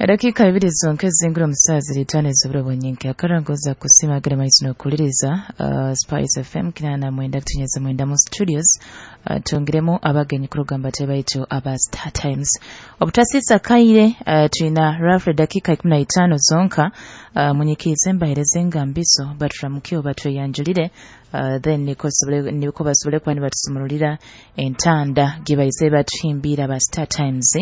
Edakika 2 zonka ezingura omusazi litano ezoburo bwonyinki akarangoza kusima gere maiso nokuliriza Spice FM 89 mu studios. Tungiremu abagenyi kurugamba tebaitu aba Star Times obutasisa kaire. Tulina roughly dakika 15 zonka. Munyikize mbahereze engambiso baturamukiyo batweyanjulire, then niko basobole kuba nibatusumululira entanda gibaize batuhimbira ba Star Times.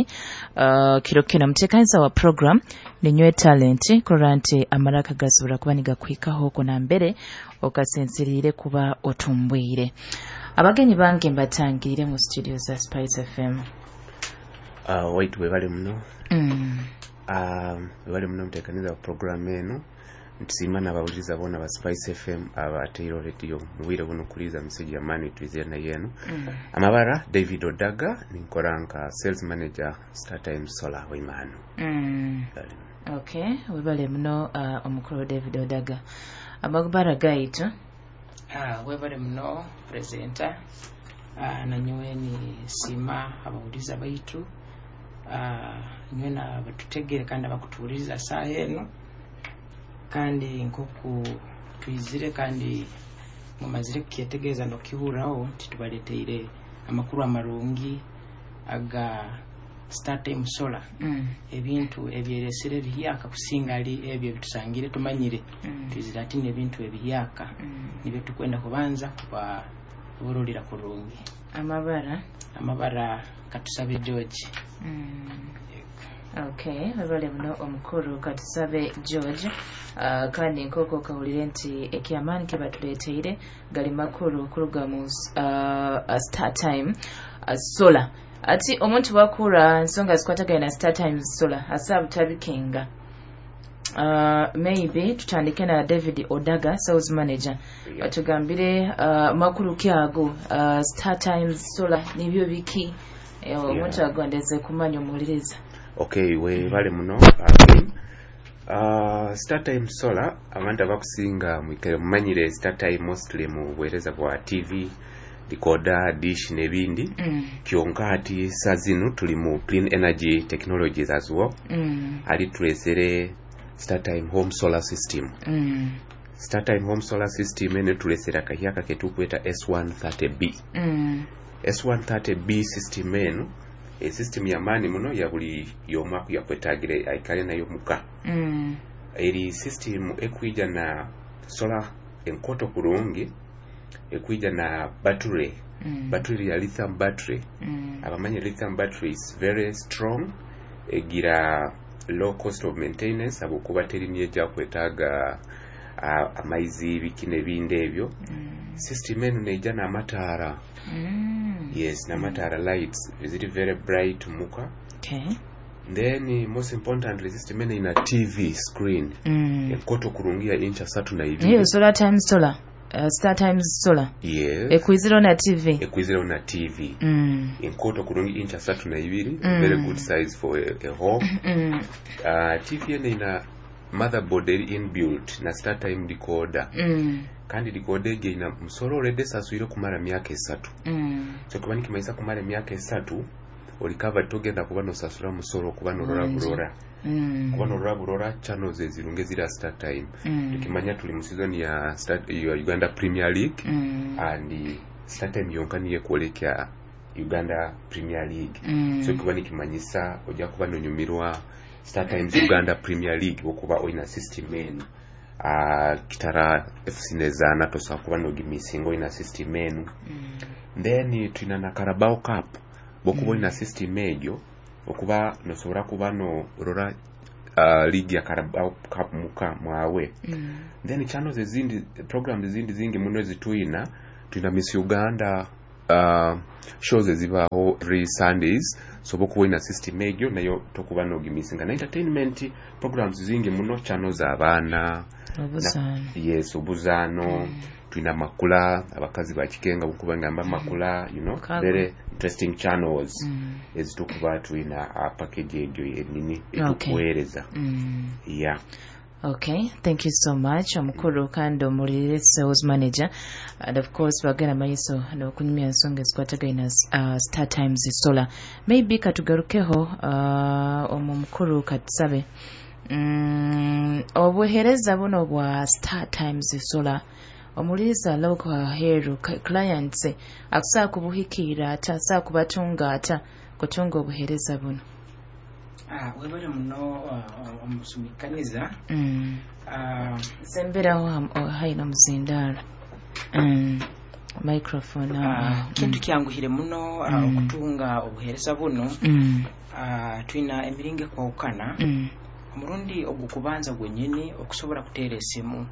Kiro kino mutekanisa wa program ninywe talent kurora nti amaraka gasobora kuba nigakwikaho oko nambere okasinziriire kuba otumbwire. Abagenyi bange mbatangirire mu studio za Spice FM. Waitu webale muno. Webale muno muteekaniza wa program eno. Ntusiima n'abawuliriza boona ba Spice FM abateire radio mu bwire buno kuliza message ya mani twizire nayo eno. Amabara David Odaga, ninkora nka sales manager Star Times Solar Waimahano. Okay, webale muno omukuru David Odaga. Amabara gaitu. Webale muno presenter. Nanyowe ni siima abawuliriza baitu. Nyowe nabatutegere kandi abakutuwuliriza saaha eno, kandi nkoku twizire kandi mumazire kukyetegereza nokihuraho nti tubaleteire amakuru amarungi aga Star Time Solar. Ebintu ebyeresire ebihyaka kusinga ali ebyo ebitusangire tumanyire. Twizire ati n'ebintu ebihyaka nibyo tukwenda kubanza kubaburulira kurungi. Amabara Katusabe George. Okay, webale muno omukuru Katusabe George. Kandi nkoko kahulire nti ekyamaani kebatuleteire gali makuru kuruga mu Star Time Solar. Ati omuntu wakura nsonga zikwatagana na Star Times Solar asa butabikenga. Maybe tutandike na David Odaga, sales manager. Batugambire makuru kyago Star Times Solar nibyo biki omuntu agondeze kumanya omuwuliriza. Okay, webale muno again. Star Time Solar abantu abakusinga mwikare mumanyire Star Time mostly mu buweereza bwa TV, decoder, dish n'ebindi. Kyonka ati saa zino tuli mu clean energy technologies as well. Ali tulesere Star Time Home Solar System. Star Time Home Solar System eno tulesere akahyaka ketukweta S130B. S130B system eno esystem yamaani muno ya buli yomu yakwetagire aikale nayo muka. Eri system ekwija na solar enkoto kurungi, ekwija na battery. Battery ya lithium battery. Abamanye lithium battery is very strong, egira low cost of maintenance abukuba teri niyeja kwetaga amaizi biki n'ebindi ebyo. System eno neija n'amataara. Yes, n'amataara lights ziri very bright muka. Then most importantly system eno ina TV screen. Enkoto kurungi ya incha 32. Hiyo Solar Times Solar. Star Times Solar. Yes. Ekwiziro na TV. Ekwiziro na TV. Enkoto kurungi incha 32, very good size for a home. TV eno ina motherboard eri inbuilt na Star Time decoder. Kandi decoder egi ina musoro already saswire kumara myaka 3. So kuba nikimaisa kumara myaka 3 oli covered, togenda kuba nosasura musoro kuba norora burora. Kuba norora burora channels ezirunge zira Star Time. Tukimanya tuli mu season ya ya Uganda Premier League. And Star Time yonka niye kwolekya Uganda Premier League. So kuba nikimanyisa ojja kuba nonyumirwa Star Times Uganda Premier League okuba olina system eno. Kitara FC nezaana tosobola kuba nogimisinga olina system eno. Then tulina na Carabao Cup bwokuba olina system egyo okuba nosobola kuba norora league ya Carabao Cup muka mwawe. Then channels ezindi, programs ezindi zingi muno ezituyina. Tulina Miss Uganda shows ezibaaho every Sundays, so bwokuba olina system egyo nayo tokuba nogimisinga. Na entertainment programs zingi muno, channels abaana. Obuzaano. Yes, obuzaano. Tulina makula, abakazi bakikenga bukuba ngamba makula, you know, very interesting channels ezitukuba tulina package egyo enini etukuweereza. Yeah. Okay, thank you so much omukuru kandi omulirire sales manager, and of course bagenda maiso n'okunyumya ensonga ezikwatagaine Star Times Solar. Maybe katugarukeho omu mukuru katusabe obuheereza buno bwa Star Times Solar, omuliriza loko aheeru clients akusobola kubuhikiira ata, asobola kubatunga ata kutunga obuheereza buno? Webale muno omusumikaniza. Semberaho haina omuzindaaro microphone. Kintu kyanguhire muno okutunga obuheereza buno. Twina emiringo ekwawukana. Omurundi ogukubanza gwenyini okusobola kuteera esimu,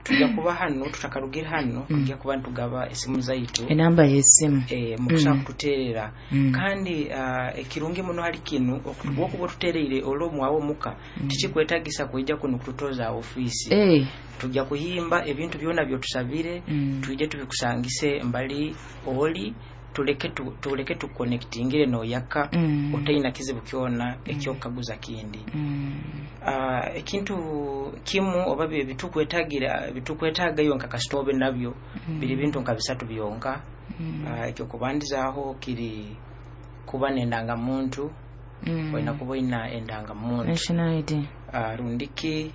tujja kuba hano tutakarugire hano, tujja kuba nitugaba esimu zaitu, enamba y'esimu mukusobola kututeerera. Kandi ekirungi muno hali kinu, okuba otuteereire olw'omwawe omuka, tikikwetagisa kwija kuno kututoza ofiisi. Tujja kuhimba ebintu byona byotusabire, twije tubikusangise mbali oli, tuleke tuconnectingire noyaka, otaina kizibu kyona ekyokukaguza kindi. Ekintu kimu oba bitukwetagira bitukwetagayo nka kasitobe nabyo biri bintu nka bisatu byonka. Ekyokubandizaaho kiri kuba n'endangamuntu, olina kuba oyina endangamuntu, national ID. Rundiki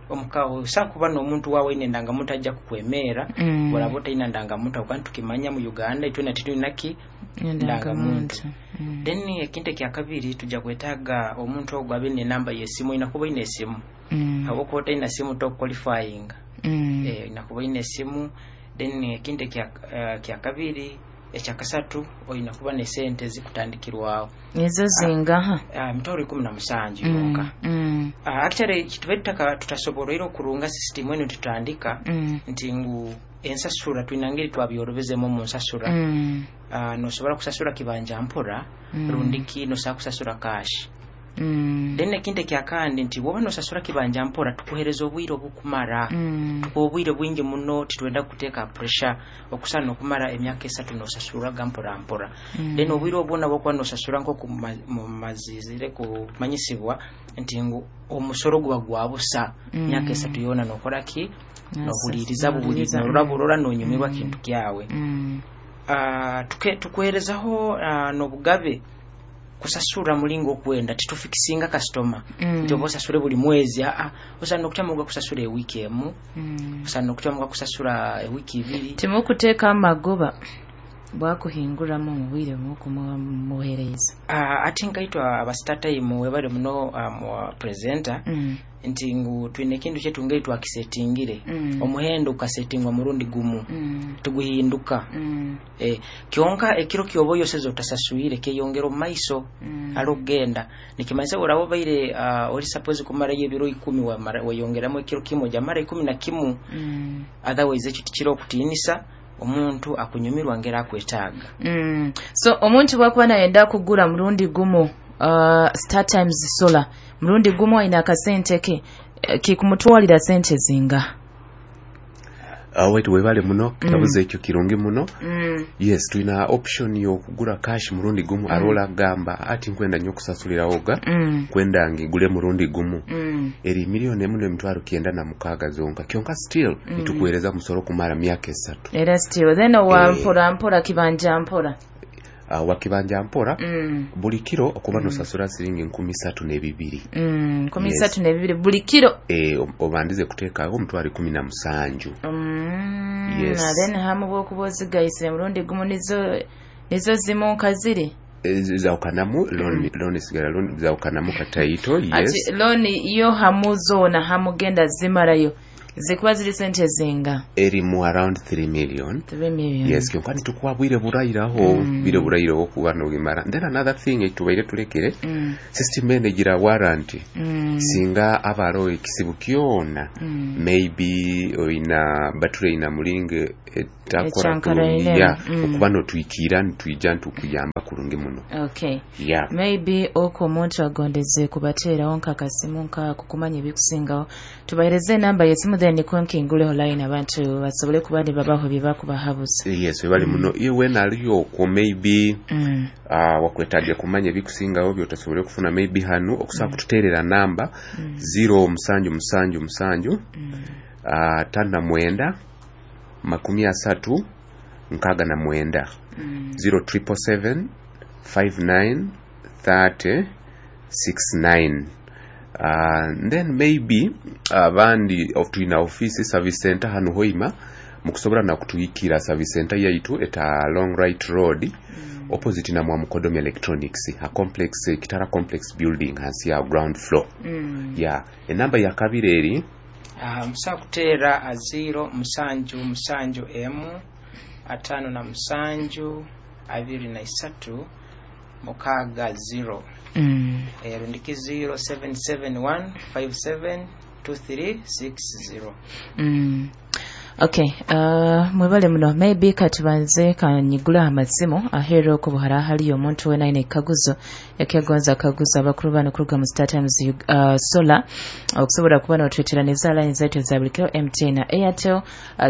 omukawo sa kuba n'omuntu waawe oyina endangamuntu ajja kukwemera. Oraba otaina ndangamuntu, aho kandi tukimanya mu Uganda itwena titwina ki endangamuntu. Then ekintu ekyakabiri, tujja kwetaaga omuntu ogwo abe n'enamba y'esimu. Oyina kuba oyina esimu, habwokuba otaina simu tokuqualifyinga. Oyina kuba oyina esimu. Then ekintu ekyakabiri, ekyakasatu, oyina kuba n'esente zikutandikirwaho. Ezo zingaha? 170,000 yonka. Actually kitube tutasoboroire okurunga system eno tutandika nti ngu ensasura twina ngeri twabyorobezemu mu nsasura. Nosobola kusasura kibanja mpora, rundiki nosobola kusasura cash. Then ekintu ekyakandi nti woba nosasura kibanja mpora, tukuhereza obwire obukumara. Tukuha obwire bwingi muno, titwenda kuteeka pressure okusana okumara emyaka 3 nosasuraga mpora mpora. Then obwire obwona bwokuba nosasura, nkoku mumazizire kumanyisibwa nti ngu omusoro guba gwa busa. Myaka 3 yona nokora ki? Nohuliriza bubuli, norora burora, nonyumirwa kintu kyawe. Tukuherezaho n'obugabe kusasura mulingo okwenda, titufikisinga kasitoma nti oba osasure buli mwezi. Aa, osana okutyamuga kusasura ewiiki emu, osana okutyamuga kusasura ewiiki 2. Timukuteeka amagoba bwakuhinguramu mu bwire mukumuhereza? Ati nkaitwa aba StarTime, webale muno presenter, nti ngu twine ekintu kyetu ngeri twakisetingire. Omuhendo gukasetingwa murundi gumu, tuguhinduka. Kyonka ekiro kyoba oyoseza otasasuire kyeyongera omu maiso. Ali okugenda nikimanyisa oraba obaire oli suppose kumarayo ebiro 10, weyongeramu ekiro kimu, ojamara 11. Otherwise ekyo tikiri okutiinisa omuntu akunyumirwa ngeri akwetaaga. So omuntu bwakuba nayenda kugura murundi gumu Star Times Solar murundi gumu, ayina akasente ke, kikumutwalira sente zinga? Waitu webale muno kikabuzo ekyo kirungi muno. Yes, tulina option y'okugura cash murundi gumu. Arola agamba ati nkwenda nnyo okusasulirawo ga kwenda ngigule murundi gumu, eri 1,906,000 zonka. Kyonka still nitukuweereza musoro kumara myaka 3. Era still then owa mpora mpora, kibanja mpora. Wakibanja mpora, buli kiro okuba nosasura siringi 3,002. Nkumi Yes. 3 na 2 buli kiro. Obandize kuteekawo 17,000. Yes. Then hamu bwokuba ozigayise murundi gumu, nizo zimu nka ziri? Zawukanamu, loan esigala loan, zawukanamu kataito, yes. Ati loan yo hamu zoona hamugenda zimarayo zikuba ziri sente zinga? Eri mu around 3 million. 3 million. Yes, kyonka nitukuwa bwire burayiraho, bwire burayiraho kuba nobimara. Then another thing etubaire tulekere, system eno egira warranty. Singa abaroho ekisibu kyona, maybe oyina battery ina mulingo Takora Ekyankaraine. Kurungi ya okuba notwikira nitwija ntukuyamba kurungi muno. Okay. Ya. Maybe oko omuntu agondeze kubateerawo nkakasimu nkaako kumanya ebikusingawo, tubahereze enamba yesimu, then nikwo nkinguleho line abantu basobole kuba nibabaho bye bakubahabuza. Yes, webali muno. Iwe naliyo okwo maybe wakwetaga kumanya ebikusingawo byotasobole kufuna maybe hanu, okusobola kututeerera namba 0777 59 30 69, 0777 59 30 69. Then maybe abandi twina office, service center hanu Hoima, mukusobola nakutuikira. Service center yaitu eta Long Right Road, opposite na Mwamukodomi Electronics, a complex, Kitara Complex building, hansi ya ground floor. Yeah, enamba ya kabiri eri Musobola kuteera a 0771 57 23 60. Rundiki 0771 57 2360. Okay, mwebale muno. Maybe katubanze kanyigula amasimu aheera oko buhara haliyo omuntu wena aine ekikaguzo ekyagonza akaguza abakuru bano kuruga mu Star Times Solar, okusobola kuba notweteraniza line zaitu za buli kiro, MTN na Airtel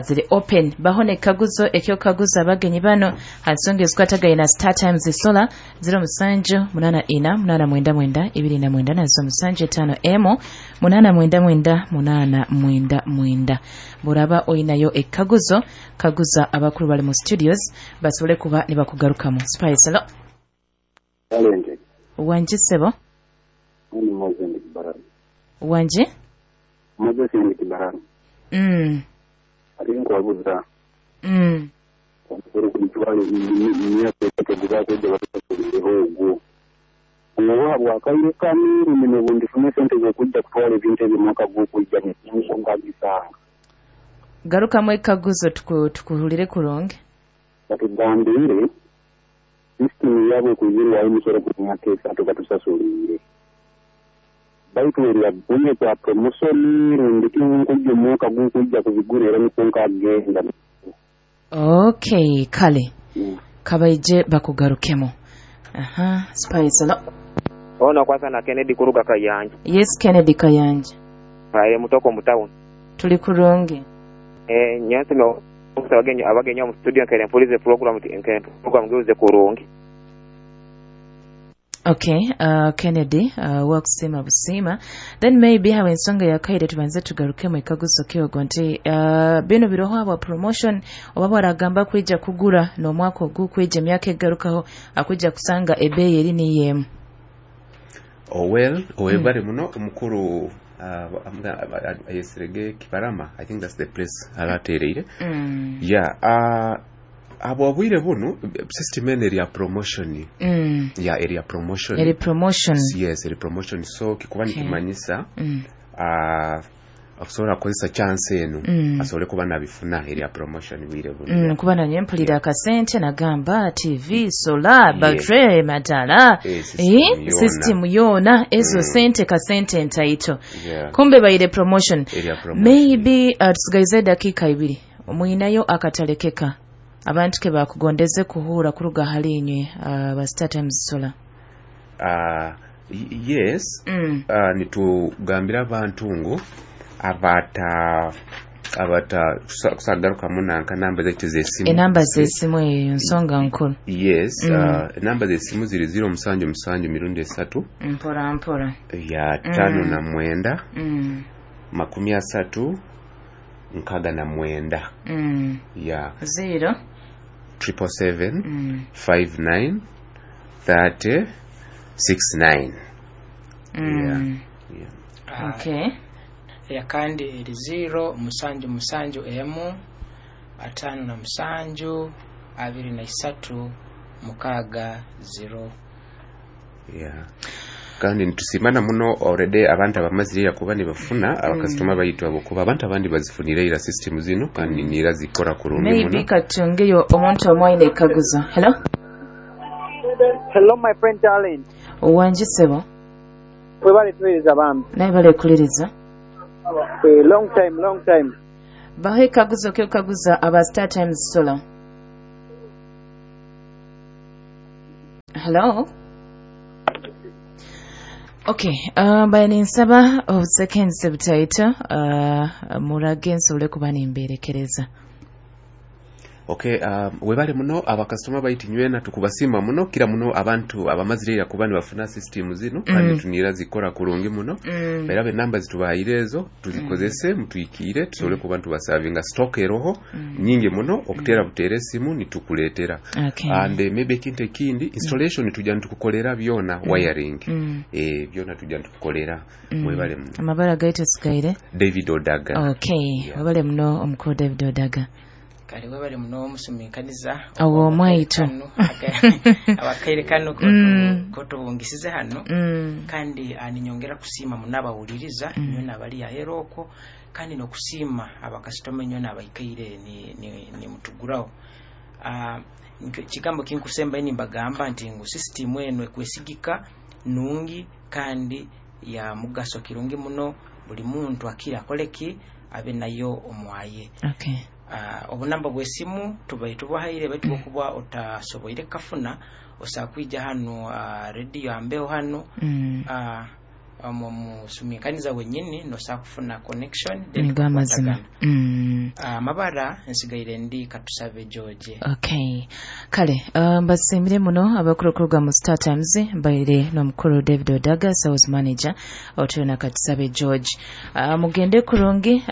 ziri open. Baho nekikaguzo ekyokaguza abagenyi bano ha nsonga ezikwatagaine na Star Times Solar, 07 84 899 29 na 07 51 899 899. Buraba oyinayo ekikaguzo, kaguza abakuru bali mu studios basobole kuba nibakugarukamu. Spice, hello. Talente. Wangi sebo. Ni Moses ndi Kibarani. Wangi. Moses ndi Kibarani. Ate nkwabuza. Omusolo ku mitwalo emyaka esatu gubakwejja batusasulire ogwo. Oba bwakaire kamiru mino bundifune sente z'okujja kutwala ebintu ebyo omwaka gw'okujja ngisanga. Garukamu ekikaguzo tukuhulire kurungi. Batugambire sisitimu yaabwe okuzirwayo emisolo ku myaka 3 batusasulire. Baitu erya bunye kwa promosoni rundi nkujja omwaka gw'okujja kubigura era nikwo nkagenda. Okay, kale. Kabaije bakugarukemo. Aha, Spice, hello. Ono kwanza na Kennedy kuruga Kayanja. Yes, Kennedy Kayanja. Aye mutoko mu town. Tuli kurungi. Nyansi no abagenyi mu studio nkere mpulize program nkere program ngeuze kurungi. Okay, Kennedy, wakusima busima. Then maybe hawe ensonga ya kaide tubanze tugarukemo ekaguzo kyogo nti bino biroho aba promotion oba baragamba kwija kugura n'omwaka ogukwijja emyaka egarukaho akujja kusanga ebeeyi eri niyemu. Oh well, owebale muno omukuru ayesirege Kibarama. I think that's the place alatereire. Yeah, abo obwire buno system eno eri ya promotion. Yeah, eri ya promotion. Eri promotion. Yes, eri promotion. So kikuba nikimanyisa akusobola kukozesa chance eno asobole kuba nabifuna eri ya promotion bwire buno. Kuba nanye mpulira akasente nagamba TV, solar, battery, matala, system yona ezo sente kasente ntaito. Kumbe baire promotion. Maybe tusigaize dakika 2 omuyinayo akatalekeka abantu ke bakugondeze kuhura kuruga hali inywe ba Star Times Solar. Yes. Nitugambira abantu ngu abata kusagaruka munanka namba zaitu z'esimu. Enamba z'esimu eyo nsonga nkulu. Yes, enamba z'esimu ziri 077 mirundi 3. Mpora mpora. Ya 59 30 69. Ya 0 777 59 30 69. Yeah. Okay. Ya kandi eri 0 7 7 57 23 60. Yeah. Kandi nitusimana muno already abantu abamazire yakuba nibafuna abakasitoma bayitwa bokuba abantu abandi bazifunire ira system zino kandi nira zikora kurungi muno. Maybe katungeyo omuntu omwaine kaguzo. Hello. Hello my friend darling. Wangi sebo. Webale tuweleza bambi. Naye bale kuliriza. Long time. Baho ekaguzo ky'okukaguza aba Star Times Solar. Hello. Okay, mbaye ninsaba obusekenzi butaito, murage nsobole kuba nimberekereza. Okay, webale muno abakasitoma baitu nywena tukubasima muno kira muno abantu abamazire kuba nibafuna system zino kandi tunira zikora kurungi muno. Era namba zitubahaire ezo tuzikozese mutuikire tusobole kuba tubasavinga stock eroho nyingi muno okutera butere simu nitukuletera. Okay. And maybe ekintu ekindi installation tujja nitukukolera byona wiring. Byona tujja nitukukolera. Mwebale muno. Amabara gaitu sigaire David Odaga. Okay, webale muno omukuru David Odaga. Kale webale muno omusuminkaniza awo omwaitu abakaire kano kotubungisize hano. Kandi ninyongera kusiima muno abawuliriza nywena abali ahera okwo, kandi n'okusiima abakasitoma nywena abaikaire ni mutuguraho. Kigambo kinkusemba nimbagamba nti ngu system eno ekwesigika nungi kandi ya mugaso kirungi muno, buli muntu akira akoleki abe nayo omwaye. Okay. Obunamba bw'esimu tubaye tubahaire baitu okuba otasoboire kafuna osakwija hano radio ambeho hano musuminkaniza wenyini nosakufuna connection then amazima. Amabara nsigaire ndi Katusabe George. Okay, kale mbasimire muno abakuru mu Star Times, mbaire n'omukuru David Odaga sales manager otuyo na Katusabe George. Mugende kurungi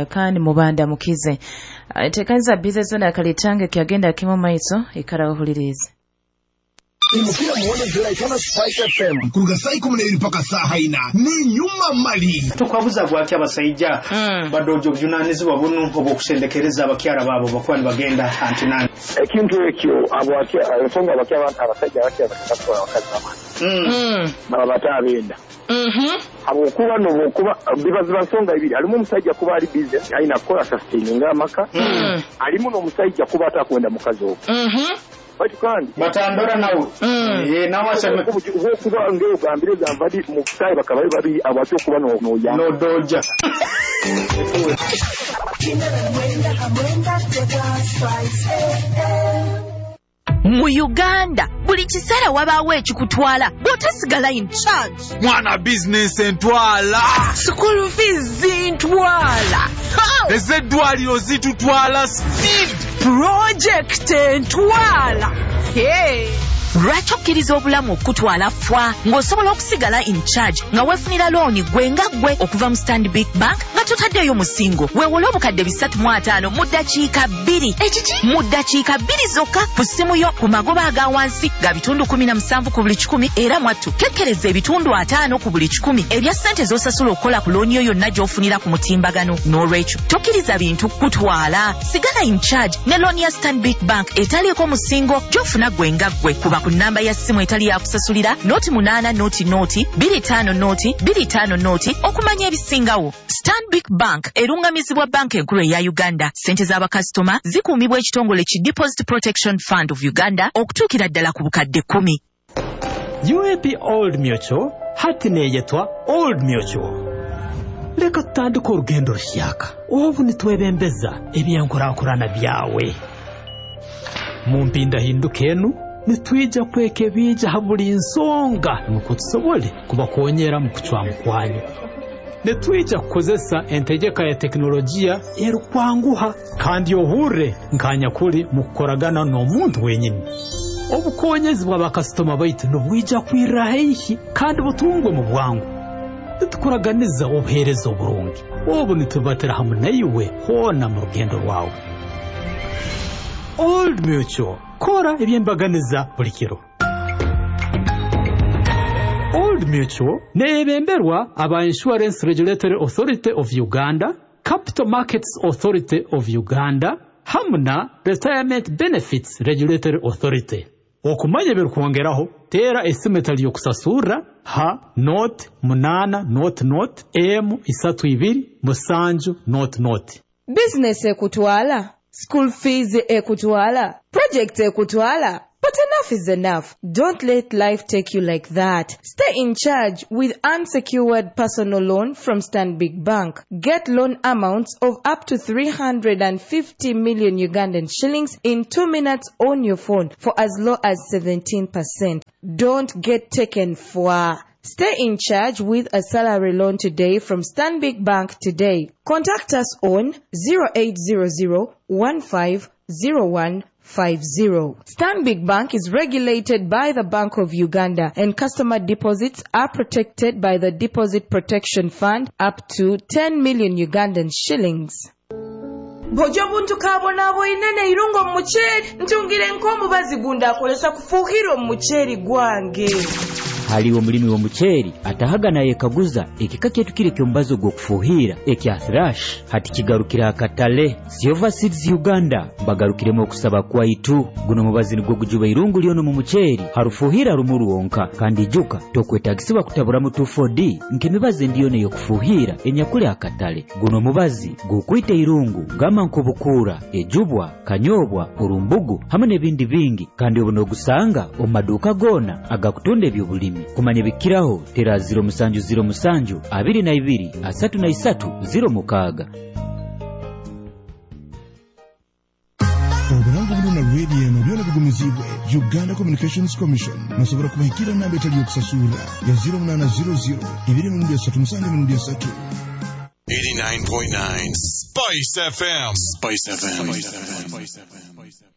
kandi mubanda mukize. Tekanza bize zona kalitange kyagenda kimu maiso ikara uhulirize. Imukira muone ziraitana Spice FM kuruga saa 12 mpaka saa 4 ni nyuma mali. Tukwabuza gwaki abasajja badojo obujunanizibwa buno obwokusendekereza abakyala baabo bakuba nibagenda antinani. Ekintu ekyo ensonga abasajja abakyala abakazi bamaani baba batabenda. Habwokuba nobwokuba bibaziba nsonga ibiri, alimu omusajja kuba ali busy alina kukola sustaininga amaka, alimu n'omusajja kuba atakwenda mukazi ogwo. Baitu kandi batandora nawe nawe aseme kuba ngeo gambire gambadi mukutai bakabaye babi abatyo kuba no ya no doja. Mu Uganda buli kiseera wabaawo ekikutwala bw'otasigala in charge. Mwana business entwala, school fees ntwala, ez'eddwaliro zitutwala speed, project entwala. Hey. Lwaki okkiriza obulamu okutwala fwa ng'osobola okusigala in charge nga weefunira looni gwe nga gwe okuva mu Stanbic Bank nga totaddeeyo musingo. Weewole obukadde 350 mu ddakiika 2. Ekiki? Mu ddakiika 2 zokka ku ssimu yo ku magoba aga wansi ga bitundu 17 ku buli 100, era mwattu kekkereza ebitundu 5 ku buli 100 ebya ssente z'osasula okukola ku looni yo yonna gy'ofunira ku mutimbagano. N'olwekyo tokkiriza bintu kutwala, sigala in charge ne looni ya Stanbic Bank etaliiko musingo gy'ofuna gwe nga gwe. Kuba ku namba ya simu etali ya kusasulira 08 0 0 25 0 25 0 okumanya ebisingawo. Stanbic Bank erungamizibwa banka enkulu eya Uganda. Ssente z'abakasitoma zikuumibwa ekitongole ki Deposit Protection Fund of Uganda okutuukira ddala ku bukadde 10. UAP Old Mutual hati neeyetwa Old Mutual. Leka tutandike orugendo rushyaka obu nitwebembeza ebyenkurankurana byawe. Mu mpindahinduka enu nitwija kwekebija ha buli nsonga nukwo tusobole kubakonyera mu kucwamu kwanyu. Nitwija kukozesa entegeka ya tekinolojiya erukwanguha kandi ohurre nkanyakuli mu kukoragana n'omuntu wenyini. Obukonyezi bw'abakasitoma baitu nibwija kwirra haihi kandi butungwe mu bwangu. Nitukuraganiza obuheereza oburungi obu nitubatira hamu naiwe hoona mu rugendo rwawe. Old Mutual, kora ebyembaganiza buli kiro. Old Mutual neebemberwa aba Insurance Regulatory Authority of Uganda, Capital Markets Authority of Uganda hamu na Retirement Benefits Regulatory Authority. Okumanya ebirikwongeraho teera esimu etali y'okusasurra ha 0 8 0 0 M 32 7 0 0. Business ekutwala, school fees ekutwala, project ekutwala. But enough is enough. Don't let life take you like that. Stay in charge with unsecured personal loan from Stanbic Bank. Get loan amounts of up to 350 million Ugandan shillings in 2 minutes on your phone for as low as 17%. Don't get taken for. Stay in charge with a salary loan today from Stanbic Bank today. Contact us on 0800 1501 50. Stanbic Bank is regulated by the Bank of Uganda and customer deposits are protected by the Deposit Protection Fund up to 10 million Ugandan shillings. Bw'ojja obuntu kabonaabwine n'eirungo mu muceeri ntungire nk'omubazi gundi akolesa kufuuhira omu muceeri gwange. Haliwo omulimi w'omuceeri atahaga nayekaguza ekika kyaitu kiri eky'omubazi ogw'okufuuhira ekya Thrash hati kigarukira akatale. Silver Seeds Uganda bagarukiremu okusaba kwaitu. Guno omubazi nigwo gujuba irungu lyona omu muceeri harufuuhira rumu rwonka, kandi ijuka tokwetagisibwa kutaburamu 2,4-D nk'emibazi endi yoona ey'okufuuhira enyakuli akatale. Guno omubazi gukwita irungu gamba nk'obukuura, ejubwa, kanyobwa, orumbugu hamwe n'ebindi bingi, kandi obu n'ogusanga omu maduuka goona agakutunda eby'obulimi. Kumanya bikiraho tera 0707 22 33 06. Oburango buno na radio eno byona bigumizibwe Uganda Communications Commission. Nosobola kubahikira namba etali yokusasura ya 0800 237 3. 89.9 Spice FM. Spice FM. Spice FM.